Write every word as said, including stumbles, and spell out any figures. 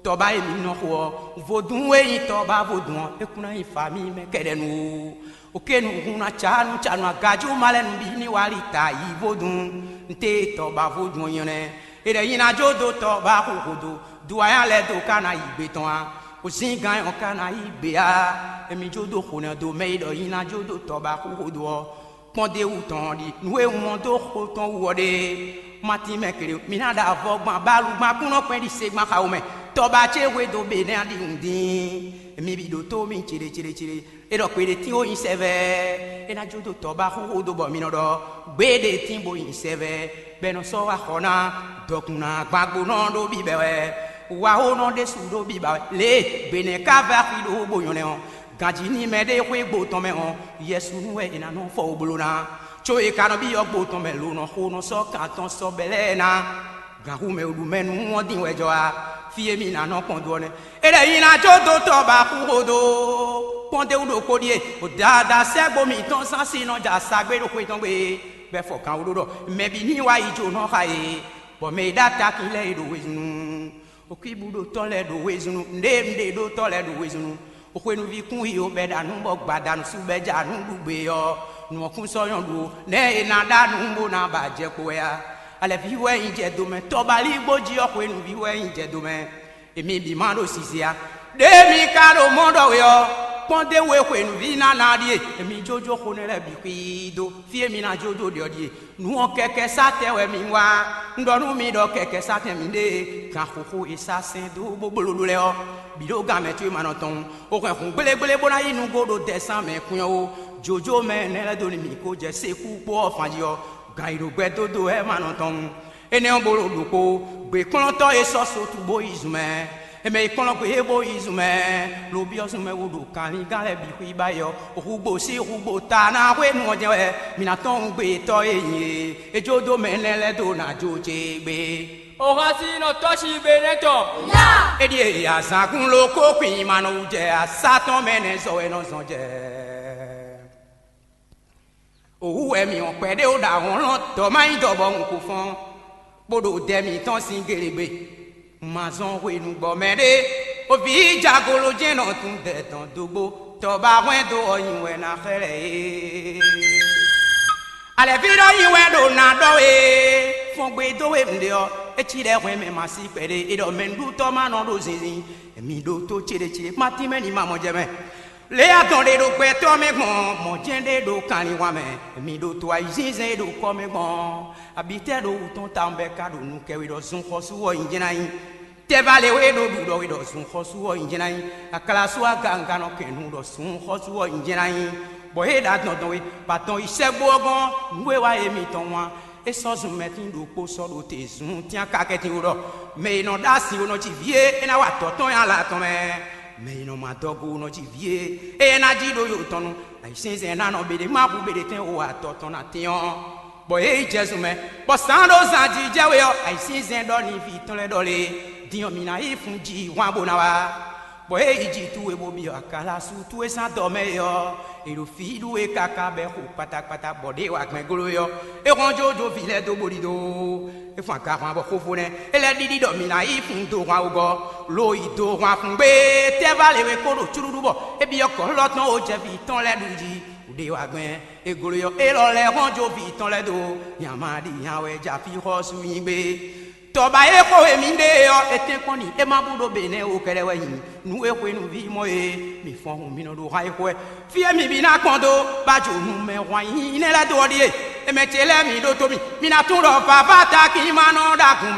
Tɔba e mǐ nɔ xo ɔ́, vodún e nyí tɔba vodún ɔ́, é kún ná nyí famíi mɛ kɛɖɛnu ó. Okénu hun ná cá nú canu agajú ma lɛ́ɛ nú bí ní wali ta yi vodún. Nte tɔba vodún ɔ́ nyɔ́ nɛ́. È ɖɛ nyi ná jó dó tɔba xo xo dó, do ayán lɛ́ɛ dó ka ná yi gbe tɔn á. Ozíngán ɔ́ ka ná yi gbe á. Emi jó dó xo nɛ́ dó mɛ e ɖɔ nyi ná jó dó tɔba xo xo dó ɔ́. Kpɔ́n d'é wú tɔn ɔ́ ɖi nǔ e un mɔ dó xo tɔn wú ɔ́ ɖe. Matín mɛ kele, mi ná ɖo avɔ gban bálu gban kúnɔ kpɛn ɖi se gban xawo mɛ. Tɔba ce hwe dó be nɛ́ ɖi nǔ dín. Mi bǐ ɖótó mi céɖécéɖécéɖé. É ɖɔ kpeɖé tín ó nyi sɛvɛ. É ná jó dó tɔba xúxú dó bɔ mi nɔ ɖɔ gbéɖé tín bó nyi sɛvɛ. Bɔ è nɔ sɔ́ wá xɔ ná dɔkun ná gbàgbónɔ ɖó bíbɛ wɛ. Wahónɔ ɖésú ɖó bíbɛ wɛ. Lě e gběnɛ́ ka vɛ́ axi ɖó bó nyɔ́ nɛ́ ɔ́, ganjí ní mɛɖé xwé gbo tɔn mɛ ɔ́, yɛsúnú wɛ è nǎ nɔ fɔ wó bló ná. Có è ka nɔ byɔ́ gbo tɔn mɛ lo nɔ xo nɔ sɔ́ kan tɔn sɔ́ bɛ́ lɛ́ɛ ná. Gǎnxu mɛ e ɖu mɛ nú ɔ́ din wɛ jɔ wá. Fí e mì ná nɔ kpɔn dó ɔ́ nɛ́. É lɛ́ nyi ná jó dó tɔ ba xú xo dó. Kpɔ́n d'é wú ɖokpó ɖíe, o dada sɛ́gbo mǐtɔn zán sí nɔ ja sagbé ɖo xwé tɔn gbe, bɔ é fɔ kan wú ɖó ɖɔ mɛ bǐ ní wá yi jǒnɔ xa e, bɔ mɛ e ɖó atakin lɛ́ɛ e ɖo wezun. Okwíbúɖotɔ́ lɛ́ɛ ɖo wezun, nɖéɖéɖotɔ́ lɛ́ɛ ɖo wezun. Xwenuví kún yi o bɛ́ ɖa nú bɔ gbada nǔsú bɛ́ ja nú ɖu gbe ɔ́, nǔ ɔ́ kún sɔ́ nyɔ́ ɖu ó. Nɛ̌ è nǎ ɖa nǔ bó ná ba jɛ kpo wɛ a? Alɛ̌ví wɛ nyí jɛ do mɛ, tɔbalígbó jí ɔ́, xwenuví wɛ nyí jɛ do mɛ. Èmi bǐ ma ɖo sise a? Ɖěe mi ka ɖo mɔ̌ ɖɔ we ɔ́, kpɔ́n d'é wú e xwenuví ná ná ɔ́ ɖíe. Èmi jójó xo nɛ́ lɛ́ɛ bǐ xwíí dó, fí e mi ná jójó ɖe ɔ́ ɖíe. Nǔ ɔ́ kɛkɛ sátɛn wɛ mi wá. Un ɖɔ nú mi ɖɔ kɛkɛ sátɛn mi ɖe, gan xóxó e sá sɛn dó bó bló ɖó lɛ́ɛ ɔ́, bǐ ɖó gan mɛ có e ma nɔ tɔn. O hɛn hǔn gblégblébo ná yi nǔgbó ɖo dɛsán mɛ kwín ɔ́ ó. Jǒjó mɛ nɛ́ lɛ́ɛ dó ni mǐ kó jɛ sékú kpó ɔ́ fan jí ɔ́, gan yi ɖo gbɛ dó dó wɛ ma nɔ tɔn. Énɛ́ ɔ́, bó ɖo ɖokpó, gběkplɔ́ntɔ́ e sɔ́ so tubóyizun mɛ. È mɛ yi kplɔ́n gbě e bó yi zun mɛ, lo byɔ́ zun mɛ wú ɖo kanlingán lɛ́ɛ bǐ xwíba yi ɔ́, húgbo sín húgbo ta ná hwenu ɔ́ jɛ́n wɛ mi ná tɔ́n nú gbeyetɔ́ e nyi e. É jó dó mɛ énɛ́ lɛ́ɛ dó ná jó ce gbé. Oxasinɔ tɔ́ sín gbe nɛ́ tɔn. É ɖíe azǎn kún ló kó kwin ma nɔ wú jɛ asá tɔn mɛ nɛ́ zɔ wɛ nɔ zɔn jɛ. Ohu wɛ mì wɔn kpɛɖé ó ɖo ahɔnlɔn dɔ̌ má nyí dɔ̌ bɔ un ko fɔ́n, bó ɖo dɛ mǐtɔn sín gélégbé. Un ma zɔn hwenu gbɔ mɛɖé, o vǐ jagolo jɛ́n nɔ tun dɛ tɔn dógbó, tɔba hwɛndo ɔ́ nyi wɛ ná xlɛ́ é. Alɛ̌ví ɖɔ nyi wɛ ɖo ná ɖɔ é, fɔn gbe dó we un ɖe ɔ́, é cí ɖɛ́ hwɛn mɛ ma sí kpɛɖé, é ɖɔ mɛ nǔɖutɔ́ ma nɔ ɖo zinzin, mi ɖótó céɖécéɖé, ma tínmɛ ní ma mɔ jɛ mɛ. Lě e adɔn ɖe ɖo gbɛtɔ́ mɛ gbɔn, mɔ̌ jɛ́n ɖé ɖo kanlin mɛ, mi ɖo to ayǐzínzɛ́n e ɖo kɔ mɛ gbɔn. Abǐtɛ́ ɖo wǔ tɔn tawun bɔ é ka ɖo nu kɛ we ɖɔ zun xɔsú ɔ́ nyi jɛ́n ná nyí. Tɛ́ va lě we ɖo ɖu ɖɔ we ɖɔ zun xɔsú ɔ́ nyi jɛ́n ná nyí. Aklasú aganga nɔ kɛn nu ɖɔ zun xɔsú ɔ́ nyi jɛ́n ná nyí. Bɔ é ɖo adɔn dɔn we, bɔ adɔn yi sɛ́gbó ɔ́ gɔ́n, nǔ e wa e mitɔn wán. É sɔ́ zun mɛtín ɖokpó sɔ́ ɖo te zun tínakakɛ́tín wú ɖɔ mɛ e nɔ ɖó asi wú nɔ ji vǐ e é ná wa adɔ̌ tɔn nyi ala tɔn mɛ. Mɛ e nɔ mɔ adɔgo wú nɔ ji vǐ e é ná jí ɖó yo tɔn nu. Ayǐsínzɛn ná nɔ beɖé ma hu beɖé tɛn wo adɔ̌ tɔn ná tɛ́n ɔ́, bɔ é yi jɛ zun mɛ, bɔ sǎn ɖó zan jí jɛ we ɔ́, ayǐsínzɛn ɖɔ n'i vǐ tɔn lɛ́ɛ ɖɔ lé, din ɔ́, mǐ ná yi fun ji hwan bó ná wá. Bɔ é yi ji towe bó byɔ́ akalasu towe sín adɔ mɛ é ɔ́, è ɖo fí ɖú we káká bɔ é xo kpatakpata bɔ ɖěe wa gbɛn gló é ɔ́, é hɔn jó jó vǐ lɛ́ɛ dó bó ɖidó. É fun agahwan bɔ xófó nɛ́ é lɛ́ ɖiɖi ɖɔ mǐ ná yi fun do hwan wegɔ́, lo yi do hwan fun gbé. Tɛ́ va lě we kó ɖo cúɖúɖú bɔ é byɔ́ kɔ̌lɔ́ tɔn ó jɛ vǐ tɔn lɛ́ɛ ɖu jí. Ɖě wa gbɛn é gló é ɔ́, élɔ́ lɛ́ɛ hɔn jó vǐ tɔn lɛ́ɛ dó. Nya ma ɖi nya wɛ jɛ afí xɔ́sú nyi gbé. Tɔba e xo e mǐ ɖe ɔ́, è tɛ́nkpɔ́n n'i é ma bú ɖó be nɛ́ ó kɛ́ɖɛ́ wɛ nyi nǔ e xwenu ví mɔ e mǐ fɔ́n hun mì nɔ ɖo han e xo wɛ. Fí e mǐ bí ná kpɔ́n dó bá jǒ nu mɛ hwan nyí nɛ́ lɛ́ɛ dó ɔ́ ɖíe, è mɛ ce lɛ́ɛ mǐ ɖótó mì, mǐ ná tunwun ɖɔ vǎvá takin ma nɔ ɖagun